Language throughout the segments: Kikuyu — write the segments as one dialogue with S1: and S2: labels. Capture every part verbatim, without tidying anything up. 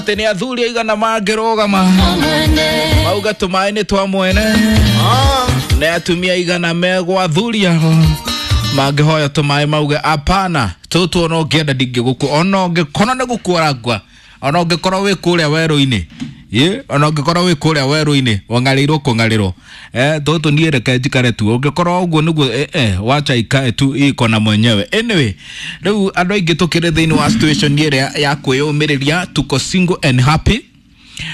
S1: Atĩ nĩ athuri aigana mangĩrũgama mauga tũmaĩ nĩ twa mwene, nĩ atumia aigana megwa athuri ao mangĩhoya tũmaĩ mauge apana, tũtũ ona ũngĩenda ndingĩgũkua, ona ũngĩkorwo nĩ gũkua ũrakua, ona ũngĩkorwo wĩ kũrĩa werũ-inĩ, ĩ ona ũngĩkorwo wĩ kũrĩa werũ-inĩ wang'arĩirwo kũng'arĩrwo, eh tũtũ niĩ reke njikare tu, ũngĩkorwo ũguo nĩguo, eh, eh wacha ikae tu iko na mwenyewe. Anyway, rĩu andũ aingĩ tũkĩrĩ thĩinĩ wa situation ĩrĩa ya kwĩyũmĩrĩria, tuko single and happy.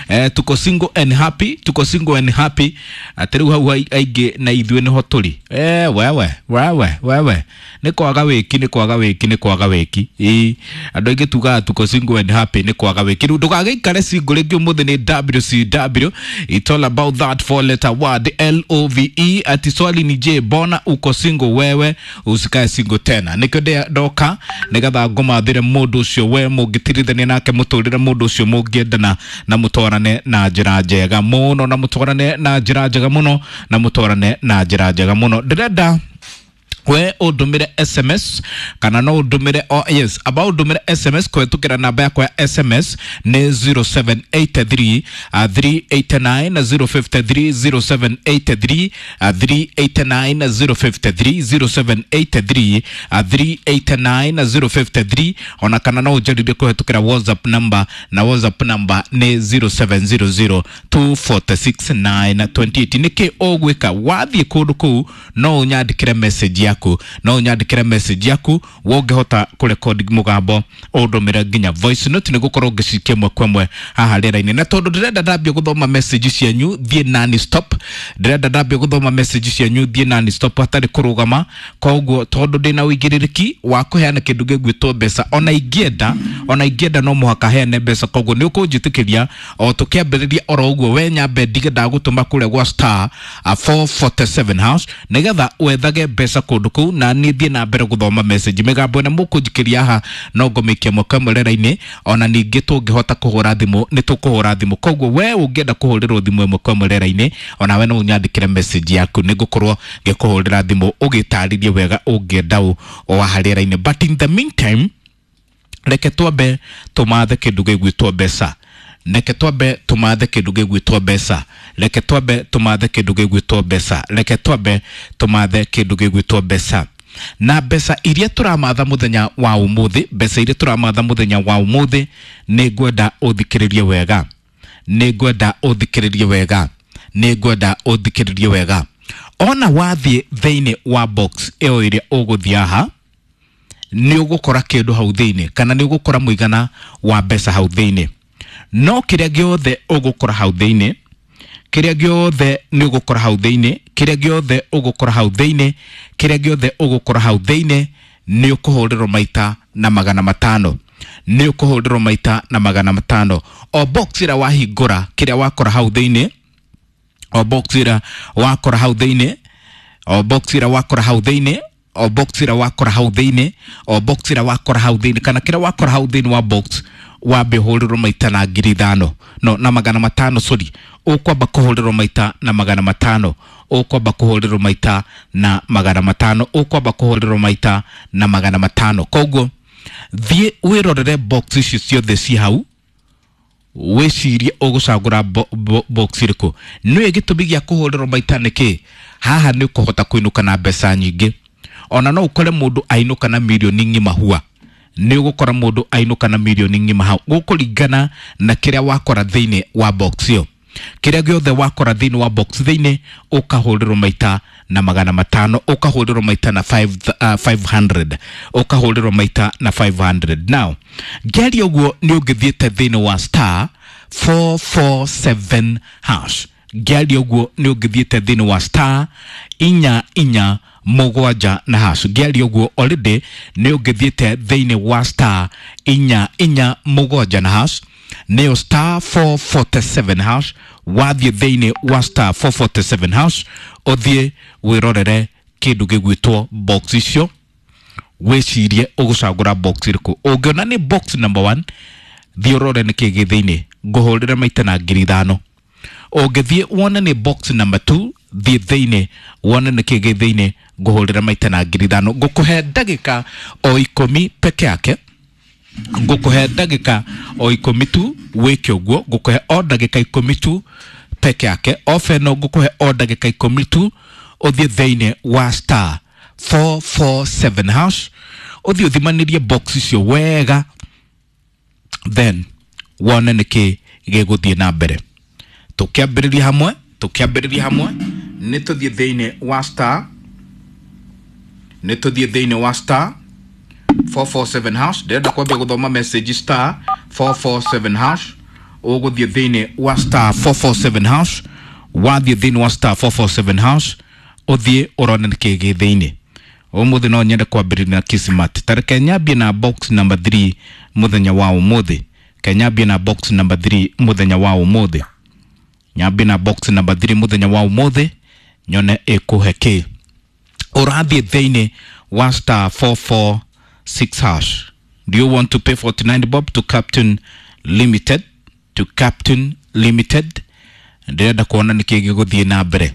S1: Eh, tuko single and happy, tuko single and happy. Atĩ rĩu hau aingĩ na ithuĩ nĩho tũrĩ. Eh, wewe wewe wewe nĩ kwaga wĩki, nĩ kwaga wĩki, nĩ kwaga wĩki. Ĩ andũ aingĩ tugaga tuko single and happy nĩ kwaga wĩki. Rĩu ndũgagĩikare single rĩngĩ. Ũmũthĩ nĩ W C W, it's all about that four letter word L O V E. Ati swali ni je, mbona uko single wewe? Usikae single tena. Nĩkĩo ndoka nĩgetha ngũmathĩre mũndũ ũcio we mũngĩtirithania nake mũtũrĩre, mũndũ ũcio mũngĩendana na mũtwarane na njĩra njega mũno, na mũtwarane na njĩra njega mũno, na mũtwarane na njĩra njega mũno. Ndĩrenda we ũndũmĩre S M S kana no ũndũmĩre, oh, yes, aba ũndũmĩre S M S kũhetũkĩra namba yakwa ya S M S nĩ zero seven eight three uh, three eight nine zero five three, zero seven eight three uh, three eight nine zero five three, zero seven eight three uh, three eight nine zero five three. Ona kana no ũnjarĩrie kũhetũkĩra WhatsApp number, na WhatsApp number nĩ zero seven zero zero two four six nine two eight. Nĩkĩ ũgwĩka wathiĩ kũndũ kũu? No ũnyandĩkĩre message yaku, no ũnyandĩkĩre message yaku. Wongĩhota kũrekodi mũgambo, ũndũmĩre nginya voice note, nĩ gũkorwo ngĩcikia ĩmwe kwa ĩmwe haha rĩera-inĩ. Na tondũ ndĩrenda ndambie gũthoma message cianyu thiĩ non stop, ndĩrenda ndambie gũthoma message cianyu thiĩ non stop hatarĩ kũrũgama. Koguo tondũ ndĩna ũigĩrĩrĩki wa kũheana kĩndũ gĩgwĩtwo mbeca, ona ingĩenda ona ingĩenda no mũhaka heane mbeca. Koguo nĩ ũkũnjĩtĩkĩria o tũkĩambĩrĩria oro ũguo, we nyambe ndige ndagũtũma kũrĩa gwa star uh, four four seven hash nĩgetha wethage mbeca kũndũ kũu, na niĩ thiĩ na mbere gũthoma message. Mĩgambo ĩno mũkũnjikĩria haha no ngũmĩikia mwaka ĩmwe rĩera-inĩ. Ona ningĩ tũngĩhota kũhũra thimũ, nĩ tũkũhũra thimũ. Koguo we ũngĩenda kũhũrĩrwo thimũ ĩmwe kwa ĩmwe rĩera-inĩ, onawe no ũnyandĩkĩre message yaku, nĩ ngũkorwo ngĩkũhũrĩra thimũ ũgĩtarĩrie wega ũngĩenda ũ o haha rĩera-inĩ. But in the meantime, reke twambe tũmathe kĩndũ gĩgwĩtwo mbeca, reke twambe tũmathe kĩndũ gĩgwĩtwo mbeca, reke twambe tũmathe kĩndũ gĩgwĩtwo mbeca, reke twambe tũmathe kĩndũ gĩgwĩtwo mbeca. Na mbeca iria tũramatha mũthenya wa ũmũthĩ, mbeca iria tũramatha mũthenya wa ũmũthĩ, nĩ ngwenda ũthikĩrĩrie wega, nĩ ngwenda ũthikĩrĩrie wega, nĩ ngwenda ũthikĩrĩrie wega. Ona wathiĩ thĩinĩ wa box ĩyo ĩrĩa ũgũthiĩ haha, nĩ ũgũkora kĩndũ hau thĩinĩ, kana nĩ ũgũkora mũigana wa mbeca hau thĩinĩ. No kĩrĩa gĩothe ũgũkora hau thĩinĩ, kĩrĩa gĩothe nĩ ũgũkora hau thĩinĩ, kĩrĩa gĩothe ũgũkora hau thĩinĩ, kĩrĩa gĩothe ũgũkora hau thĩinĩ, nĩ ũkũhũrĩrwo maita na magana matano, nĩ ũkũhũrĩrwo maita na magana matano. O box ĩrĩa wahingũra, kĩrĩa wakora hau thĩinĩ, o box ĩrĩa wakora hau thĩinĩ, o box ĩrĩa wakora hau thĩinĩ, o box ĩrĩa wakora hau thĩinĩ, o box ĩrĩa wakora hau thĩinĩ, kana kĩrĩa wakora hau thĩinĩ wa box, wambe ũhũrĩrwo maita na ngiri ithano, no na magana matano, sorry, ũkwamba kũhũrĩrwo maita na magana matano, ũkwamba kũhũrĩrwo maita na magana matano, ũkwamba kũhũrĩrwo maita na magana matano. Koguo thiĩ wĩrorere box icio ciothe ci hau, wĩcirie ũgũcagũra bo, bo, box ĩrĩkũ. Nĩwe gĩtũmi gĩa kũhũrĩrwo maita nĩkĩ? Haha nĩ ũkũhota kũinũka na mbeca nyingĩ. Ona no ũkore mũndũ ainũka na mirioni ng'ima hua, nĩ ũgũkora mũndũ ainũka na mirioni ng'ima hau, gũkũringana na kĩrĩa wakora thĩinĩ wa box ĩyo. Kĩrĩa gĩothe wakora thĩinĩ wa box thĩinĩ, ũkahũrĩrwo maita na magana matano, ũkahũrĩrwo maita na five, uh, five hundred, ũkahũrĩrwo maita na five hundred. Now ngĩaria ũguo, nĩ ũngĩthiĩte thĩinĩ wa star four four seven hash. Ngĩaria ũguo, nĩ ũngĩthiĩte thĩinĩ wa star inya inya mũgwanja na hash. Ngĩaria ũguo, already nĩ ũngĩthiĩte thĩinĩ wa star inya inya mũgwanja na hash, nĩyo star four forty-seven hash. Wathiĩ thĩinĩ wa star four forty-seven hash, ũthiĩ wĩrorere kĩndũ gĩgwĩtwo box icio, wĩcirie ũgũcagũra box ĩrĩkũ. Ũngĩona nĩ box number one, thiĩ ũrore nĩkĩ gĩ thĩinĩ, ngũhũrĩre maita na ngiri ithano. Ũngĩthiĩ wone nĩ box number two, thiĩ thĩinĩ wone nĩkĩ gĩ thĩinĩ, ngũhũrĩre maita na ngiri ithano. Ngũkũhe ndagĩka o ikũmi peke yake. Ngũkũhe ndagĩka o ikũmi tu wĩke ũguo, ngũkũhe o ndagĩka ikũmi tu peke yake. Ofa ĩno ngũkũhe o ndagĩka ikũmi tu ũthiĩ thĩinĩ wa star four four seven hash, ũthiĩ ũthimanĩrie box icio wega, then wone nĩkĩ gĩgũthiĩ na mbere. Tũkĩambĩrĩria hamwe, tũkĩambĩrĩria hamwe nĩ tũthiĩ thĩinĩ wa star, nĩ tũthiĩ thĩinĩ wa star four four seven hash. Ndĩrenda kwambia gũthoma message. Star four four seven hash, ũgũthiĩ thĩinĩ wa star four four seven hash. Wathiĩ thĩinĩ wa star four four seven hash, ũthiĩ ũrone nĩkĩ gĩ thĩinĩ. Ũmũthĩ no nyende kwambĩrĩria na Kismat. Ta reke nyambie na box number three mũthenya wa ũmũthĩ. Ke nyambie na box number three mũthenya wa ũmũthĩ, nyambie na box number three mũthenya wa ũmũthĩ, nyone ĩkũhe kĩ. Ũrathiĩ thĩinĩ wa star four four six hash. Do you want to pay forty-nine bob to Captain Limited? To Captain Limited. Ndĩrenda kuona nĩkĩ gĩgũthiĩ na mbere,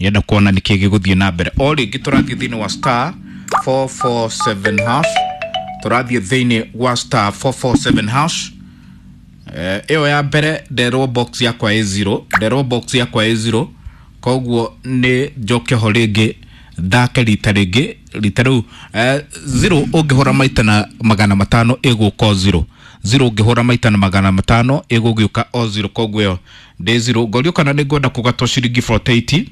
S1: ndĩrenda kuona nĩkĩ gĩgũthiĩ na mbere. O rĩngĩ tũrathiĩ thĩinĩ wa star four four seven hash, tũrathiĩ thĩinĩ wa star four four seven hash. Ĩyo ya mbere nderwo box yakwa ĩ zero, nderwo box yakwa ĩ zero, koguo nĩ njoke ho rĩngĩ thake rita rĩngĩ rita rĩu. eh, zero ũngĩhũra maita na magana matano ĩgũka o zero. Zero ũngĩhũra maita na magana matano ĩgũgĩũka o zero, koguo ĩyo ndĩ zero. Ngorio kana nĩ ngwenda kũgatwo ciringi forty-eight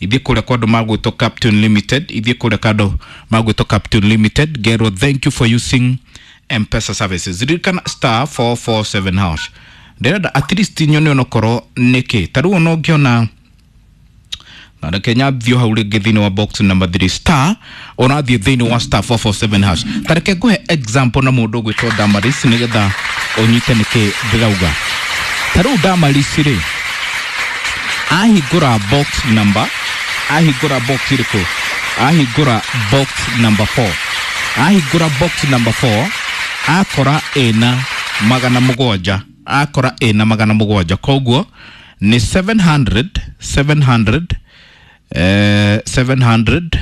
S1: ithiĩ kũrĩa kwa andũ magwĩtwo Captain Limited, ithiĩ kũrĩa kwa andũ magwĩtwo Captain Limited, ngerwo thank you for using M-Pesa services. Ririkana star four four seven hash. Ndĩrenda at least nyone onokorwo nĩkĩ ta rĩu ona ũngĩona. Na reke nyambio hau rĩngĩ thĩinĩ wa box number three. Star, ũrathiĩ thĩinĩ wa star four four seven hash. Ta reke ngũhe example na mũndũ ũgwĩtwo Damaris nĩgetha ũnyite nĩkĩ ndĩrauga. Ta rĩu Damaris rĩ, ahingũra box number, ahingũra box ĩrĩkũ? Ahingũra box number four. Ahingũra box number four akora ĩna magana mũgwanja, akora ĩna magana mũgwanja, koguo nĩ seven hundred, seven hundred, eh, seven hundred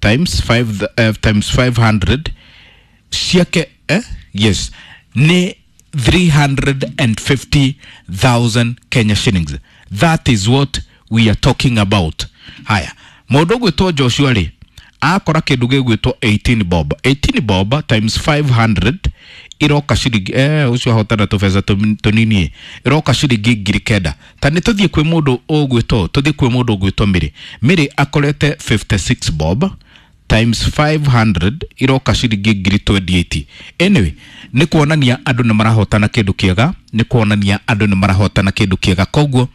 S1: times five, eh, times five hundred ciake, eh? Yes, nĩ three hundred and fifty thousand Kenya shillings. That is what we are talking about. Haya, mũndũ ũgwĩtwo Joshua rĩ, akora kĩndũ gĩgwĩtwo eighteen bob. eighteen bob times five hundred iroka ciringi, eh, ũcio ahotana tũbeca tũnini, iroka ciringi ngiri kenda. Ta nĩ tũthiĩ kwĩ mũndũ ũgwĩtwo, tũthiĩ kwĩ mũndũ ũgwĩtwo Mĩrĩ. Mĩrĩ akorete fifty-six bob times five hundred iroka ciringi ngiri twenty-eight. Anyway, nĩ kuonania andũ nĩ marahotana kĩndũ kĩega, nĩ kuonania andũ nĩ marahotana kĩndũ kĩega. Koguo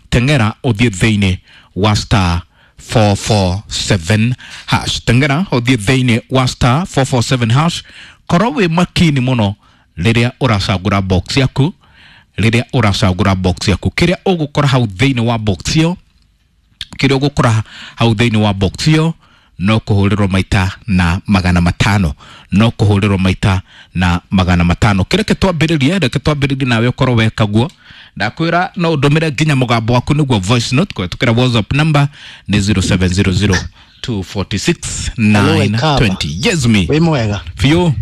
S1: teng'era ũthiĩ thĩinĩ wa star four four seven hash, teng'era ũthiĩ thĩinĩ wa star four four seven hash. Korwo wĩ makini mũno rĩrĩa ũracagũra box yaku, rĩrĩa ũracagũra box yaku, kĩrĩa ũgũkora hau thĩinĩ wa box ĩyo, kĩrĩa ũgũkora hau thĩinĩ wa box ĩyo no kũhũrĩrwo maita na magana matano, no kũhũrĩrwo maita na magana matano. Kĩreke twambĩrĩrie, reke twambĩrĩrie nawe ũkorwo weka guo. Ndakwĩra no ũndũmĩre nginya mũgambo waku nĩguo voice note kũhetũkĩra WhatsApp number nĩ zero seven zero zero two forty-six nine twenty. Yes me.
S2: Wĩ mwega?
S1: Biũ.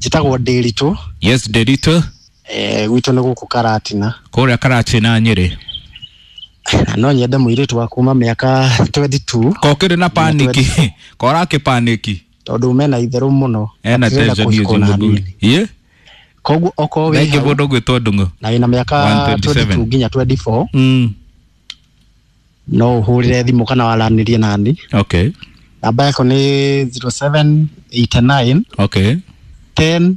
S2: Njĩtagwo Ndĩritũ.
S1: Yes Ndĩritũ.
S2: Eh, gwitũ nĩ gũkũ Karatina.
S1: Kũrĩa Karatina Nyĩrĩ.
S2: Na no nyende mũirĩtu wa kuma mĩaka twenty-two.
S1: Kokĩrĩ na paniki. Korakĩ paniki.
S2: Tondũ mena itherũ mũno.
S1: Ena
S2: Atĩrenda
S1: tension hiyo
S2: kũhikwo na
S1: mũthuri.
S2: hanini.
S1: Ye?
S2: Koguo okorwo wĩ
S1: Thengi
S2: hau,
S1: mũndũ ũgwĩtwo Ndung'u.
S2: na wĩna mĩaka
S1: One twenty-seven.
S2: twenty-two nginya twenty-four.
S1: Mm.
S2: No ũhũrĩre thimũ kana waranĩrie nani.
S1: Okay.
S2: Namba yako nĩ zero seven eight nine
S1: Okay.
S2: ten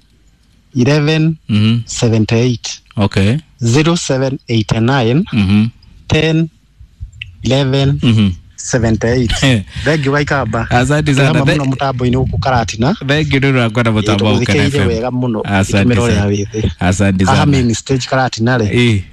S2: eleven
S1: Mm-hmm.
S2: seventy-eight.
S1: Okay.
S2: zero seven eight nine
S1: Mm-hmm.
S2: ten eleven
S1: Mm-hmm.
S2: seventy-eight.
S1: Eh.
S2: Thengi wa Ikamba.
S1: Asante sana.
S2: Tũrĩ hamwe mũno mũtambo-inĩ gũkũ Karatina.
S1: Thengi nĩ ũndũ wa kwenda mũtambo wa Ũkena
S2: Tũgũthikĩrĩirie
S1: F M.
S2: wega mũno
S1: Asante
S2: ĩtũmĩra ũrĩa
S1: sana.
S2: wĩ thĩ.
S1: Asante
S2: Haha
S1: sana.
S2: main stage Karatina rĩ.
S1: Eh.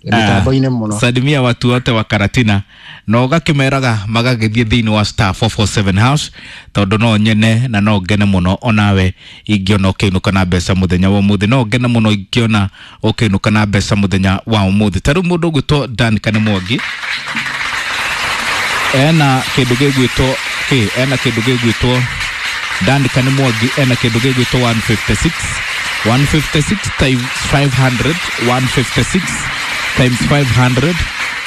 S2: Mĩtambo-inĩ mũno.
S1: Salimia watu wote wa Karatina na ũgakĩmeraga magagĩthiĩ thĩinĩ wa star four four seven hash, tondũ no nyene na no ngene mũno onawe ingĩona ũkĩinũka na mbeca mũthenya wa ũmũthĩ, no ngene mũno ingĩona ũkĩinũka na mbeca mũthenya wa ũmũthĩ. Ta rĩu mũndũ ũgwĩtwo Dan Kanemwangi ena kĩndũ gĩgwĩtwo kĩ, ena kĩndũ gĩgwĩtwo Danica nĩ Mwangi ena kĩndũ gĩgwĩtwo one fifty-six one fifty-six times five hundred one fifty-six times five hundred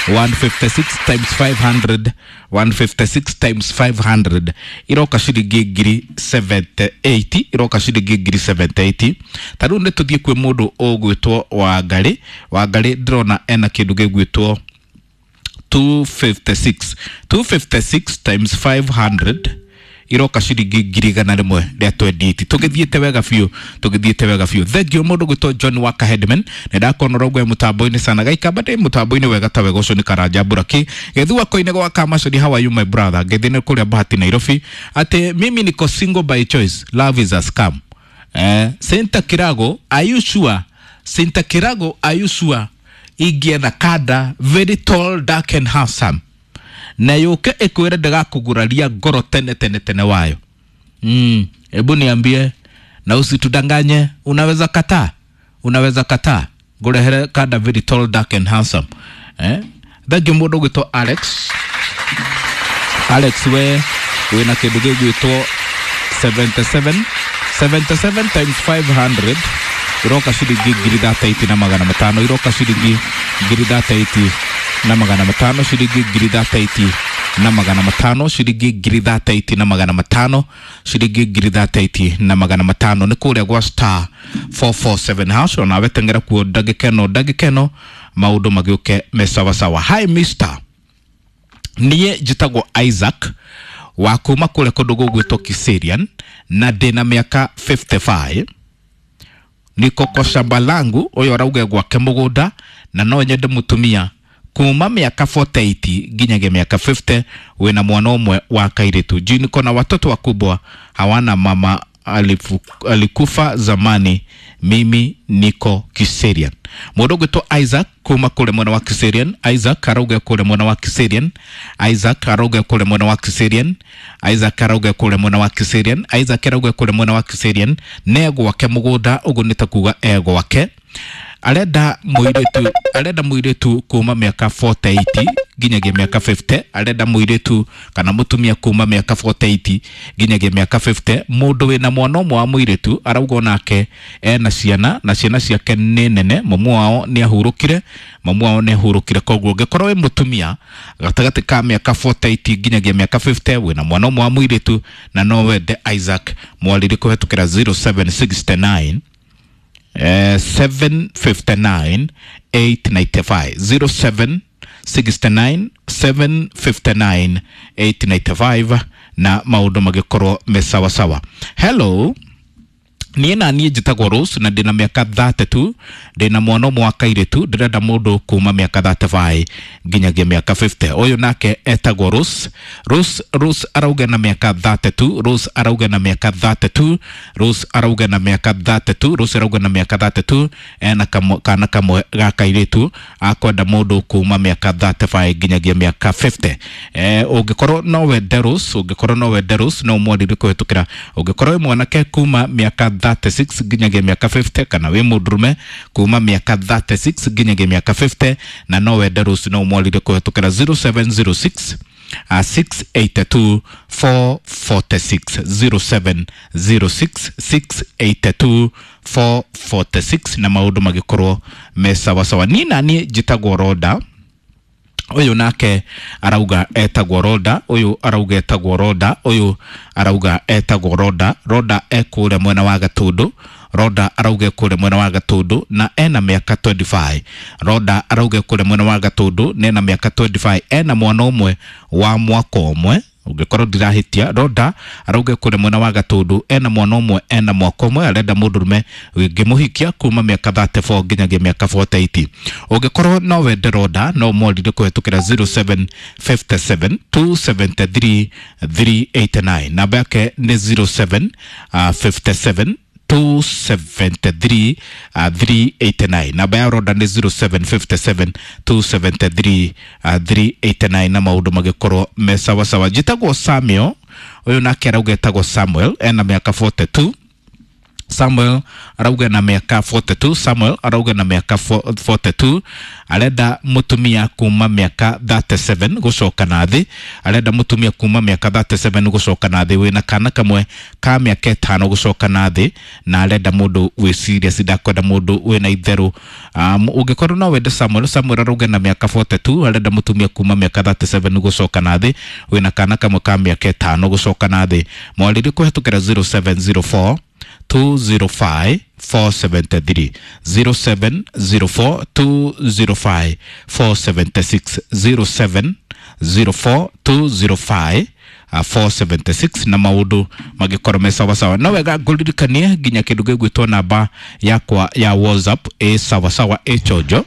S1: one fifty-six times five hundred one fifty-six times five hundred iroka ciringi ngiri seventy-eight iroka ciringi ngiri seventy-eight. Ta rĩu nĩ tũthiĩ kwĩ mũndũ ũgwĩtwo Wangarĩ. Wangarĩ ndĩrona ena kĩndũ gĩgwĩtwo two fifty-six two fifty-six times five hundred iroka ciringi ngiri igana rĩmwe rĩa twenty-eight. Tũgĩthiĩte wega biũ, tũgĩthiĩte wega biũ. Thank you mũndũ gwĩtwo John Waka Headman, nĩ ndakona ũraugua mũtambo-inĩ sana gaikamba ndĩ mũtambo-inĩ wega ta wega ũcio nĩ Karanja Buraki gĩthua koine gwa Kamacori. How are you my brother? Ngĩthiĩ nĩ kũrĩa Bahati Nairobi atĩ mimi niko single by choice, love is a scam. Eh, Senta Kirago, are you sure? Senta Kirago, are you sure? Ingĩetha kanda very tall, dark and handsome na yũke ĩkwĩre ndĩgakũguraria ngoro tene tene tene wayo. Mm, hebu niambie na usitudanganye, unaweza kataa? Unaweza kataa ngũrehere kanda very tall, dark and handsome? Eh? Thank you mũndũ ũgwĩtwo Alex. Alex we wĩna kĩndũ gĩgwĩtwo seventy-seven seventy-seven times five hundred iroka ciringi ngiri thirty-eight na magana matano iroka ciringi ngiri thirty-eight na magana matano ciringi ngiri thirty-eight na magana matano ciringi ngiri thirty-eight na magana matano ciringi ngiri thirty-eight na magana matano nĩ kũrĩa gwa star four four seven hash. Onawe tengera kuo ndagĩka ĩno ndagĩka ĩno maũndũ magĩũke me sawasawa. Hi mister, niĩ njĩtagwo Isaac wa kuma kũrĩa kũndũ gũgwĩtwo Kiserian na ndĩna mĩaka fifty-five. Niko kwa shamba langu, ũyũ arauga gwake mũgũnda na no nyende mũtumia kuma miaka forty-eight nginyagia miaka fifty wina mwana ũmwe wa kairitu. Juu niko na watoto wakubwa hawana mama, alifu, alikufa zamani, mimi niko Kiserian. Mũndũ ũgwĩtwo Isaac kuma kũrĩa mwena wa Kiserian. Isaac arauga kũrĩa mwena wa Kiserian. Isaac arauga kũrĩa mwena wa Kiserian. Isaac arauga kũrĩa mwena wa Kiserian. Isaac arauga kũrĩa mwena wa Kiserian ne gwake mũgũnda, ũguo nĩ ta kuga e gwake. Arenda mũirĩtu, arenda mũirĩtu kuma mĩaka forty-eight nginyagia mĩaka fifty. Arenda mũirĩtu kana mũtumia kuma mĩaka forty-eight nginyagia mĩaka fifty. Mũndũ wĩna mwana ũmwe wa mũirĩtu arauga onake ena ciana na ciana ciake nĩ nene, mamu wao nĩ ahurũkire, mamu wao nĩ ahurũkire. Koguo ũngĩkorwo wĩ mũtumia gatagatĩ ka mĩaka forty-eight nginyagia mĩaka fifty wĩna mwana ũmwe wa mũirĩtu na no wende Isaac, mwarĩrie kũhetũkĩra zero seven six nine Uh, seven fifty-nine eight ninety-five zero seven sixty-nine seven fifty-nine eight ninety-five na maũndũ magĩkorwo me sawa sawa. Hello, niĩ na niĩ njĩtagwo Rose na ndĩna mĩaka thirty-two, ndĩna mwana ũmwe wa kairĩtu, ndĩrenda mũndũ kuma mĩaka thirty-five nginyagia mĩaka fifty. Ũyũ nake etagwo Rose. Rose, Rose arauga na mĩaka thirty-two, Rose arauga na mĩaka thirty-two, Rose arauga na mĩaka thirty-two, Rose arauga na mĩaka thirty-two, ena kamwe, kana kamwe ga kairĩtu, akwenda mũndũ kuma mĩaka thirty-five nginyagia mĩaka fifty. Eh, ũngĩkorwo no wende Rose, ũngĩkorwo no wende Rose no ũmwarĩrie kũhetũkĩra. Ũngĩkorwo wĩ mwanake kuma mĩaka thirty-six nginyagia mĩaka fifty kana wĩ mũndũrũme kuma mĩaka thirty-six nginyagia mĩaka fifty na no wende Rose no ũmwarĩrie kũhetũkĩra zero seven zero six uh, six eight two four four six zero seven zero six six eight two four four six na maũndũ magĩkorwo me sawasawa. Niĩ na niĩ njĩtagwo Roda. Ũyũ nake arauga etagwo Roda, ũyũ arauga etagwo Roda, ũyũ arauga etagwo Roda. Roda ekũrĩa mwena wa Gatũndũ. Roda arauga kũrĩa mwena wa Gatũndũ na ena mĩaka twenty-five. Roda arauga kũrĩa mwena wa Gatũndũ na ena mĩaka twenty-five, ena mwana ũmwe wa mwaka ũmwe. Ũngĩkorwo ndirahĩtia, Roda arauga kũrĩa mwena wa Gatũndũ ena mwana ũmwe ena mwaka ũmwe, arenda mũndũrũme ũngĩmũhikia kuma mĩaka thirty-four nginyagia mĩaka forty-eight. Ũngĩkorwo no wende Roda no ũmwarĩrie kũhetũkĩra zero seven five seven two seven three three eight nine. Namba yake nĩ zero seven five seven two seven three three eight nine. Namba ya Roda nĩ zero seven five seven two seven three three eight nine na maũndũ magĩkorwo me sawasawa. Njĩtagwo Samuel, ũyũ nake arauga etagwo Samuel, ena mĩaka forty-two, Samuel arauga na mĩaka forty-two. Samuel arauga na mĩaka forty-two arenda mũtumia kuma mĩaka thirty-seven gũcoka na thĩ, arenda mũtumia kuma mĩaka thirty-seven gũcoka na thĩ, wĩna kana kamwe ka mĩaka ĩtano gũcoka na thĩ, na arenda mũndũ wĩ serious, ndakwenda mũndũ wĩna itherũ. um, ũngĩkorwo no wende Samuel, Samuel arauga na mĩaka forty-two arenda mũtumia kuma mĩaka thirty-seven gũcoka na thĩ, wĩna kana kamwe ka mĩaka ĩtano gũcoka na thĩ. Mwarĩrie kũhetũkĩra zero seven zero four two zero five four seven three, zero seven zero four two zero five four seven six, zero seven zero four two zero five four seven six, na maundu magikorwo me sawa sawa. No wega ngũririkanie nginya kindu gĩgwĩtwo namba yakwa ya WhatsApp ĩ sawa sawa ĩ chonjo.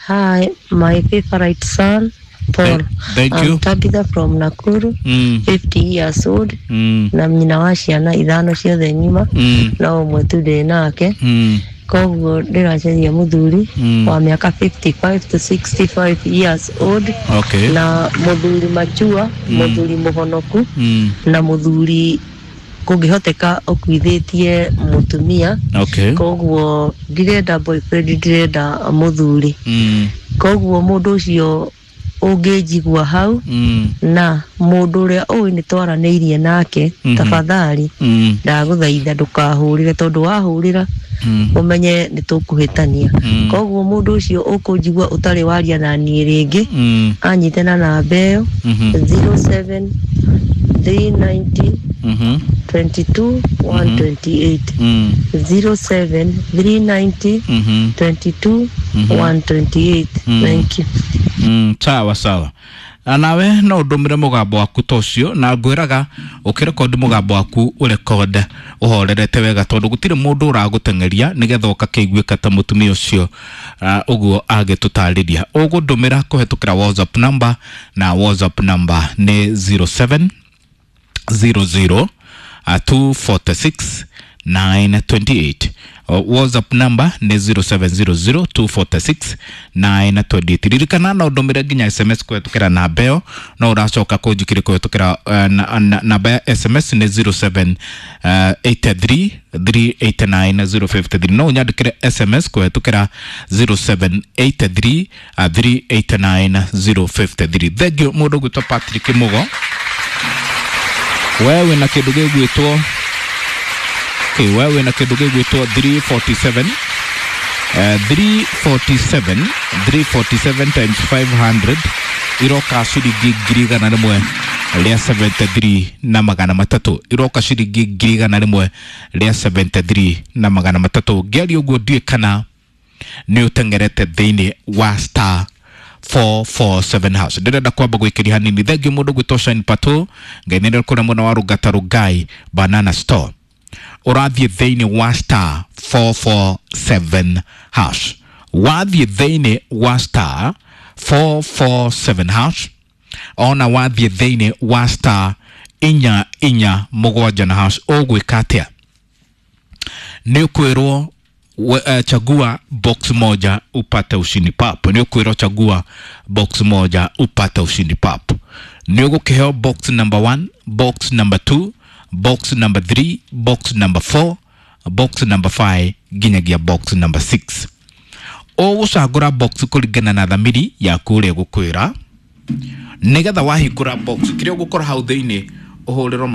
S3: Hi, my favorite son Paul.
S1: Thank, thank
S3: I'm
S1: you.
S3: Tabitha from Nakuru,
S1: Mm.
S3: fifty years old,
S1: Mm.
S3: na nyina wa ciana ithano ciothe ng'ima,
S1: Mm.
S3: no ũmwe tu ndĩ nake.
S1: Mm.
S3: Koguo ndĩracaria mũthuri
S1: Mm.
S3: wa mĩaka fifty-five to sixty-five years old,
S1: Okay.
S3: na mũthuri machua,
S1: Mm.
S3: mũthuri mũhonoku,
S1: Mm.
S3: na mũthuri kũngĩhoteka ũkuithĩtie mũtumia.
S1: Okay.
S3: Koguo ndirenda boyfriend, ndirenda mũthuri.
S1: Mm.
S3: Koguo mũndũ ũcio ũngĩnjigua hau,
S1: Mm.
S3: na mũndũ ũrĩa ũĩ nĩ twaranĩirie nake,
S1: Mhm.
S3: tafadhali
S1: Mm.
S3: ndagũthaitha ndũkahũrĩre, tondũ wahũrĩra
S1: Mm.
S3: ũmenye nĩ tũkũhĩtania.
S1: Mm.
S3: Koguo mũndũ ũcio ũkũnjigua ũtarĩ waria na niĩ rĩngĩ,
S1: Mm.
S3: anyite na namba ĩyo
S1: Mhm.
S3: zero seven three ninety
S1: Mhm.
S3: twenty-two one twenty-eight,
S1: Mm.
S3: zero seven three ninety
S1: Mhm.
S3: twenty-two
S1: Mhm.
S3: one twenty-eight.
S1: Mm.
S3: Thank you.
S1: Mm, sawa sawa. Na nawe no ndũmĩre mũgambo waku ta ũcio, na ngwĩraga ũkĩrekondi mũgambo waku ũrekode ũhorerete wega, tondũ gũtirĩ mũndũ ũragũteng'eria nĩgetha ũgakĩiguĩka ta mũtumia ũcio uh, ũguo agĩtũtarĩria. Ũgũndũmĩra kũhetũkĩra WhatsApp number, na WhatsApp number nĩ zero seven zero zero uh, two forty-six nine twenty-eight. Uh, WhatsApp number nĩ zero seven zero zero two forty-six nine twenty-eight. Ririkana no ndũmĩre nginya S M S kũhetũkĩra namba ĩyo, no ũracoka kũnjikĩria kũhetũkĩra uh, na, na, namba ya S M S nĩ zero seven, uh, eight three three eight nine zero five three. No ũnyandĩkĩre S M S kũhetũkĩra zero seven eight three, uh, three eight nine zero five three. Thank you mũndũ ũgwĩtwo Patrick Mugo. Wewe wĩna kĩndũ gĩgwĩtwo Okay, wewe wĩna kĩndũ gĩgwĩtwo three forty-seven, uh, three forty-seven, three forty-seven times five hundred iroka ciringi ngiri igana rĩmwe rĩa seventy-three na magana matatũ, iroka ciringi ngiri igana rĩmwe rĩa seventy-three na magana matatũ. Ngĩaria ũguo ndiũĩ kana nĩ ũteng'erete thĩinĩ wa star four four seven hash. Ndĩrenda kwamba gwĩkĩria hanini. Thengiũ mũndũ gwĩtwo Shine Pato, Ngai nĩ kũrĩa mwena wa Rũngata Rũngai Banana Store. Ũrathiĩ thĩinĩ wa star four four seven hash. Wathiĩ thĩinĩ wa star four four seven hash, ona wathiĩ thĩinĩ wa star inya inya mũgwanja na hash, ũgwĩka atĩa? Nĩ ũkwĩrwo we, uh, chagua box moja upate ushindi pap. Nĩ ũkwĩrwo chagua box moja upate ushindi pap. Nĩ ũgũkĩheo box number one, box number two, box number three, box number four, box number five nginyagia box number six. Ũgũcagũra box kũringana na thamiri yaku ũrĩa ĩgũkwĩra, nĩgetha wahingũra box kĩrĩa ũgũkora hau thĩinĩ ũhũrĩrwo